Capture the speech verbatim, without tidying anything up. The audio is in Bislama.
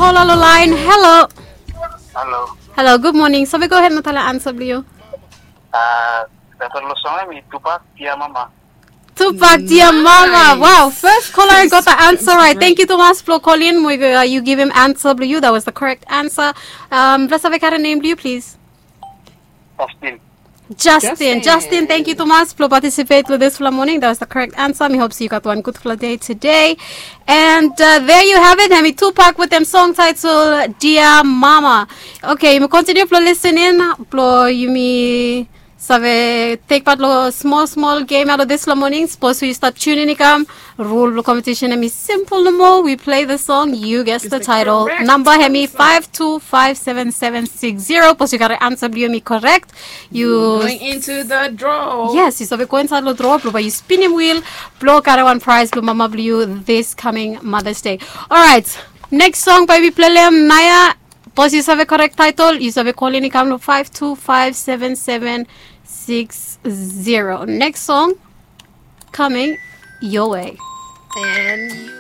Kola lo laen. Halo. Halo. Halo, gud moning. Save gohed na talem ansa blong yu. Ah, Tato lo song em i Tupac, Dia Mama. Tupac, Dia Mama. Wow, first caller got the answer right. Thank you tumas blong kolin. Mo yu givim ansa blong yu. That was the correct answer. Um, blong save karim nem blong yu, please. Justin. Justin. Justin, thank you tumas blong participate long disfala moning. That was the correct answer. Mi hop se yu gat wan gudfala dei today. And uh, there you have it. Hemi Tupac with dem song title Dia Mama. Okay, yumi continue blong listening. Blong yumi save take part long small small game out of this long morning. Suppose yu start tuning i kam. Rule blong competition hemi simple nomo. We play the song, you guess the title. Number hemi five two five seven seven six zero. Suppose yu gat an answer blong yu hemi correct. Yu Going into the draw. Yes, yu save go inside long draw blong bae yu spinim wheel blong gat wan prize blong mama blong yu this coming Mother's Day. Alright, next song bae wi plelem naoia. Suppose yu save correct title, yu save kolin i kam long five two five seven seven six zero. Next song coming your way. And